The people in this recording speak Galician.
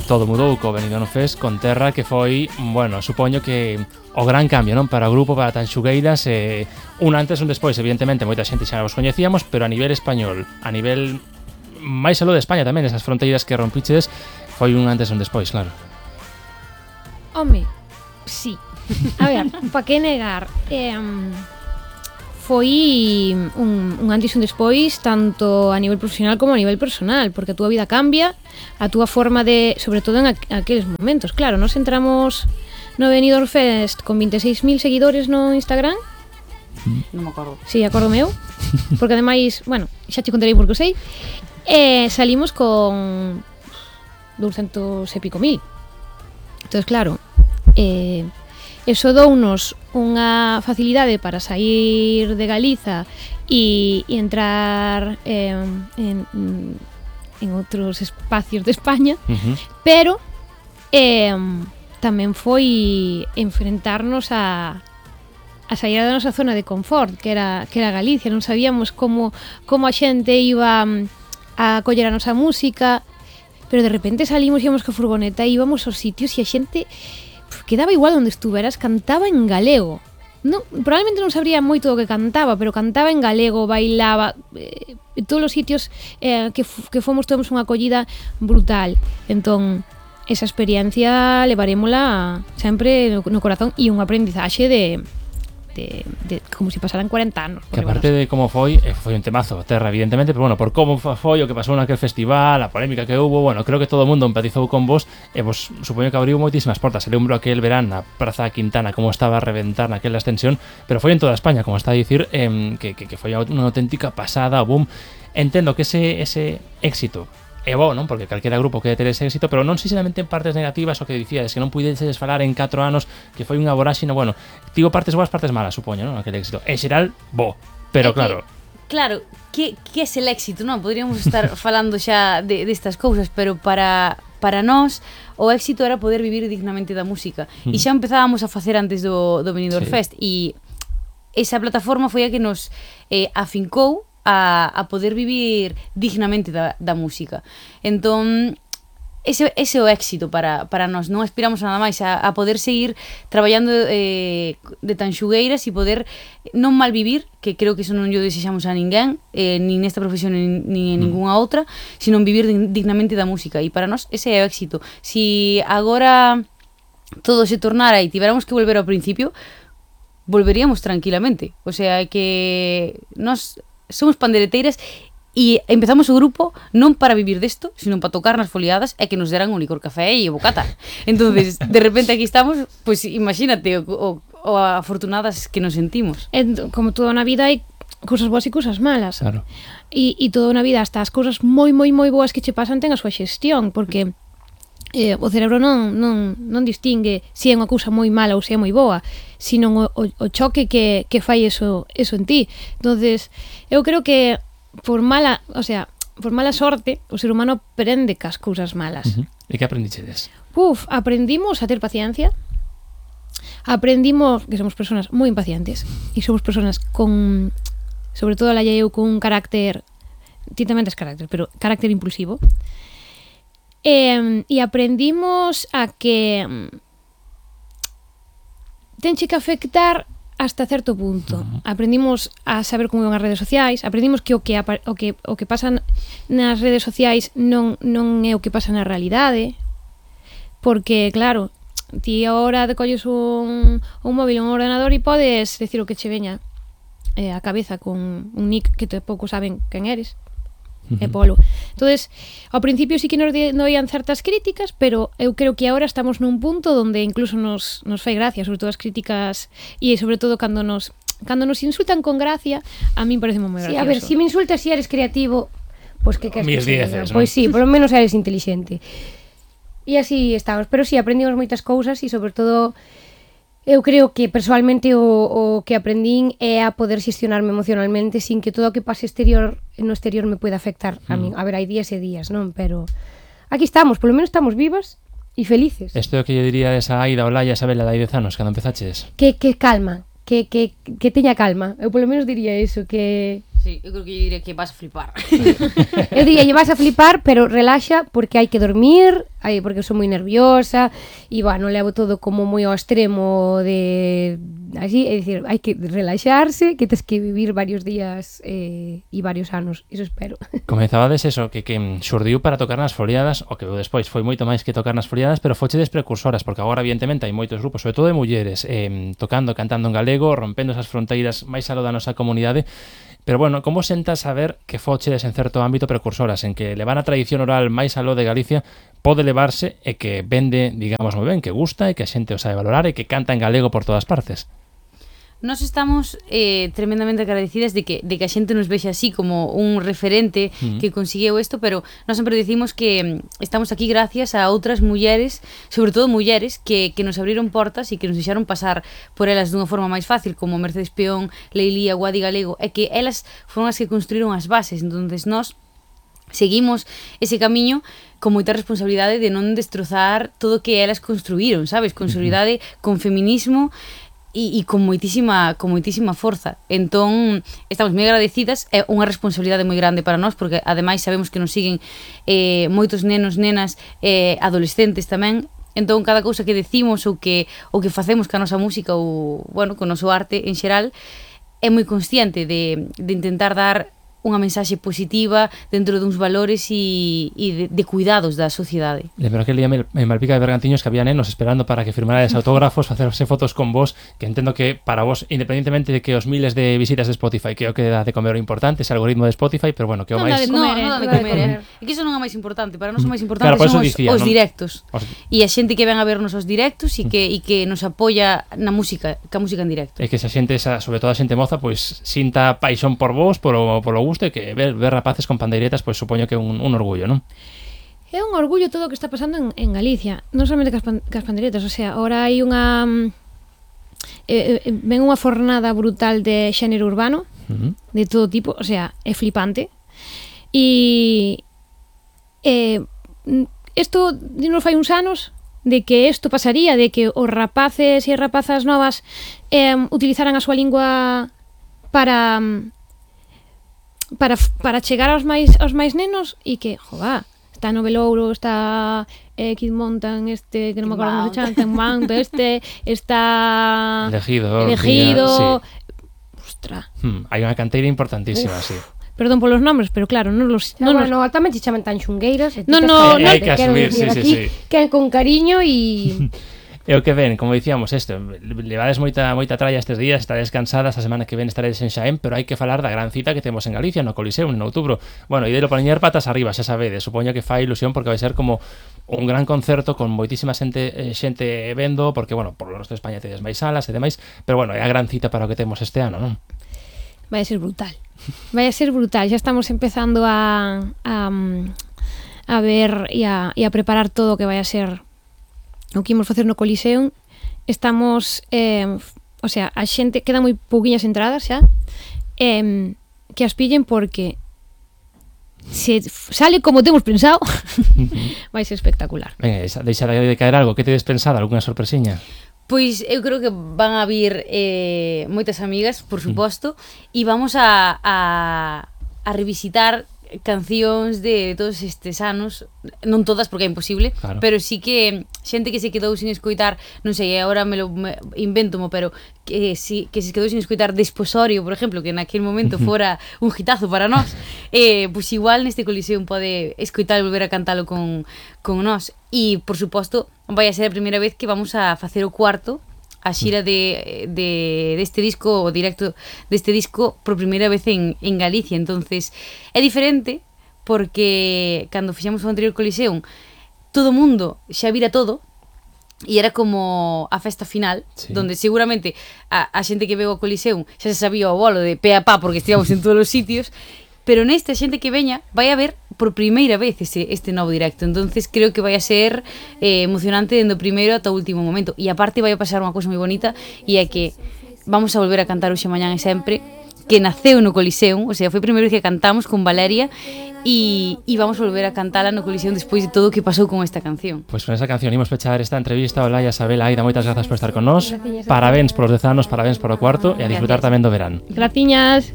todo mudou co Benidorm Fest con Terra, que foi, bueno, supoño que o gran cambio, non, para o grupo, para Tanxugueiras, un antes e un despois. Evidentemente moita xente xa os coñecíamos, pero a nivel español, a nivel máis aló de España tamén, esas fronteiras que rompiches, foi un antes e un despois, claro. Home, sí. A ver, pa que negar, foi un antes e un despois tanto a nivel profesional como a nivel personal, porque a túa vida cambia, a túa forma de, sobre todo en aqueles momentos. Claro, nos entramos no Benidorm Fest con 26.000 seguidores no Instagram. Non me acordo. Sí, acordo meu. Porque ademais, bueno, xa te contarei porque o sei. Salimos con 200 e pico mil. Entón, claro, eso dounos unha facilidade para sair de Galiza e entrar en outros espacios de España, pero tamén foi enfrentarnos a sair da nosa zona de confort, que era Galicia. Non sabíamos como a xente iba a coller a nosa música, pero de repente salimos, íamos co furgoneta e íbamos aos sitios e a xente quedaba igual onde estuveras, cantaba en galego. Non, probablemente non sabría moito do que cantaba, pero cantaba en galego, bailaba, en todos os sitios que fomos tuvemos unha acollida brutal. Entón, esa experiencia levarémola sempre no corazón e un aprendizaxe de como se pasaran 40 anos. Que aparte de como foi un temazo, Terra, evidentemente, pero bueno, por como foi o que pasou naquel festival, a polémica que hubo, bueno, creo que todo o mundo empatizou con vos e vos supoño que abriu moitísimas portas. Se lembro aquel verán na Praza Quintana como estaba a reventar naquela extensión, pero foi en toda España, como está a dicir, que foi unha auténtica pasada, boom. Entendo que ese éxito é bo, non? Porque calquera grupo quere ter ese éxito, pero non sinceramente en partes negativas, o que dicíades, que non puideses falar en 4 anos, que foi unha voráxina, bueno, digo partes boas, partes malas, supoño, non? Aquele éxito. En xeral, bo, pero claro. Claro, que é el éxito, non? Podríamos estar falando xa destas cousas, pero para nós o éxito era poder vivir dignamente da música. E xa empezábamos a facer antes do Benidorm Fest, e esa plataforma foi a que nos afincou a poder vivir dignamente da música. Entón, ese é o éxito para nós. Non aspiramos nada máis a poder seguir traballando de Tanxugueiras e poder non malvivir, que creo que eso non lle desexamos a ninguén, nin nesta profesión nin en ningunha outra, sino vivir dignamente da música. E para nós ese é o éxito. Si agora todo se tornara e tiveramos que volver ao principio, volveríamos tranquilamente. O sea, que nós somos pandereteiras e empezamos o grupo non para vivir desto, sino para tocar nas foliadas e que nos deran un licor café e bocata. Entonces, de repente aquí estamos, pues imagínate o afortunadas que nos sentimos. Como toda na vida hai cousas boas e cousas malas. Claro. E toda na vida, hasta as cousas moi boas que che pasan ten a súa xestión, porque o cerebro non distingue se é unha cousa moi mala ou se é moi boa, sino o choque que fai eso en ti. Entonces, eu creo que por mala sorte, o ser humano aprende cas cousas malas. E que aprendichedes? Aprendimos a ter paciencia. Aprendimos que somos personas moi impacientes e somos personas con, sobre todo a eu, con un carácter, ti tamén tes carácter, pero carácter impulsivo. E aprendimos a que tenche que afectar hasta certo punto. Aprendimos a saber como iban as redes sociais, aprendimos que o que pasa nas redes sociais non é o que pasa na realidade, porque claro, ti agora te colles un móvil, un ordenador e podes decir o que che veña a cabeza con un nick que tampouco saben quen eres. E polo. Entonces, ao principio sí que nos doían certas críticas, pero eu creo que agora estamos nun punto donde incluso nos fai gracia, sobre todo as críticas e sobre todo cando nos insultan con gracia, a min parece moi gracioso. Sí, a ver, si me insultas e eres creativo, pois que Mis dieces, pois sí, por lo menos eres inteligente. E así estamos, pero sí, aprendimos moitas cousas e sobre todo eu creo que persoalmente o que aprendín é a poder xestionarme emocionalmente sin que todo o que pase no exterior me pueda afectar a min. A ver, hai días e días, non? Pero aquí estamos, polo menos estamos vivas e felices. Isto é o que lle diría esa Aida Olaya, esa vela de 10 anos, cando empezaches? Que calma, que teña calma. Eu polo menos diría eso, que Sí, eu creo que diría que vas a flipar. Eu diría, vas a flipar, pero relaxa porque hai que dormir, porque eu sou moi nerviosa e, bueno, levo todo como moi ao extremo de... Así, é dicir, hai que relaxarse, que tes que vivir varios días e varios anos, iso espero. Comezabades eso, que xurdiu para tocar nas foliadas, o que despois foi moito máis que tocar nas foliadas, pero fochedes precursoras, porque agora, evidentemente, hai moitos grupos, sobre todo de mulleres, tocando, cantando en galego, rompendo esas fronteiras máis aló da nosa comunidade. Pero, bueno, como sentas saber que fochedes en certo ámbito precursoras, en que levar a tradición oral máis aló de Galicia pode levarse e que vende, digamos, moi ben, que gusta e que a xente o sabe valorar e que canta en galego por todas partes? Nós estamos tremendamente agradecidas de que a xente nos vexe así como un referente que consiguiu isto, pero nós sempre decimos que estamos aquí gracias a outras mulleres, sobre todo mulleres, que nos abriron portas e que nos deixaron pasar por elas dunha forma máis fácil, como Mercedes Peón, Leilía, Guadi Galego, e que elas foron as que construíron as bases. Entonces nós seguimos ese camiño con moita responsabilidade de non destrozar todo o que elas construíron, sabes? Con solidaridade, con feminismo e con moitísima forza. Entón, estamos moi agradecidas, é unha responsabilidade moi grande para nós, porque ademais sabemos que nos siguen moitos nenos, nenas, adolescentes tamén. Entón, cada cousa que decimos ou que facemos ca nosa música ou, bueno, con o noso arte en xeral, é moi consciente de intentar dar unha mensaxe positiva dentro duns valores e de cuidados da sociedade. Lembro aquel día en Malpica de Bergantiños que había nenos esperando para que firmarades autógrafos, facerse fotos con vos, que entendo que para vos, independentemente de que os miles de visitas de Spotify, que é o que dá de comer o importante, ese algoritmo de Spotify, pero bueno, que o máis... Non dá de comer, É que iso non é máis importante, para nós o máis importante claro, son dicía, os directos. E a xente que ven a vernos os directos e que nos apoia na música, ca música en directo. É que esa xente, sobre todo a xente moza, pois sinta paixón por vos, polo gusto, e que ver rapaces con pandeiretas, pois supoño que é un orgullo, non? É un orgullo todo o que está pasando en Galicia, non solamente cas pandeiretas, o sea, ahora hai unha ven unha fornada brutal de xénero urbano, de todo tipo, o sea, é flipante. E isto nos fai uns anos de que isto pasaría, de que os rapaces e as rapazas novas utilizaran a súa lingua para chegar aos máis nenos e que, jová, está no Velouro, está Kid Montan, que non me acordo como se chama, Mount, está Elegido. Sí. Ostra. Hai unha canteira importantísima, sí. Perdón polos nombres, pero claro, non los... No, tamén se chaman tan xungueiras. Hai que asumir, sí. Que con cariño e... E o que ven, como dicíamos, levades moita tralla estes días, estades cansadas, a semana que ven estaredes en Xaén, pero hai que falar da gran cita que temos en Galicia, no Coliseum, en outubro. Bueno, e delo para poñer patas arriba, xa sabedes, supoño que fai ilusión porque vai ser como un gran concerto con moitísima xente vendo, porque, bueno, por lo resto de España tedes máis salas e demais, pero, bueno, é a gran cita para o que temos este ano, non? Vai a ser brutal. Xa estamos empezando a ver e a preparar todo o que vai a ser o que imos facer no Coliseum. Estamos, o sea, a xente, quedan moi pouquiñas entradas xa, que as pillen porque se sale como temos pensado, vai ser espectacular. Venga, deixa de caer algo, que tedes pensado, algunha sorpresiña? Pois eu creo que van a vir moitas amigas, por suposto, e vamos a revisitar cancións de todos estes anos, non todas porque é imposible, claro. Pero sí que xente que se quedou sin escoitar, non sei, agora me inventomo, pero que se quedou sin escoitar Desposorio, por exemplo, que naquele momento fora un hitazo para nós, pois igual neste Coliseum pode escoitar e volver a cantalo con nós. E, por suposto, vai a ser a primeira vez que vamos a facer o cuarto, a xira deste disco, o directo deste disco por primeira vez en Galicia. Entonces é diferente porque cando fixemos o anterior Coliseum todo o mundo xa vira todo e era como a festa final, sí. Donde seguramente a xente que veu ao Coliseum xa se sabía o bolo de pe a pa porque estivamos en todos os sitios, pero nesta xente que veña vai a ver por primeira vez este novo directo. Entonces creo que vai a ser emocionante dende o primeiro ata o último momento. E aparte vai a pasar unha cousa moi bonita, e é que vamos a volver a cantar hoxe, mañán e sempre, que naceu no Coliseum, o sea, foi a primeira vez que cantamos con Valeria, e vamos a volver a cantala no Coliseum despois de todo o que pasou con esta canción. Pois con esa canción imos pechar esta entrevista. Olaya, Sabel, Aida, moitas grazas por estar con nós. Parabéns polos 10 anos, parabéns por o cuarto, e a disfrutar tamén do verán. Graciñas.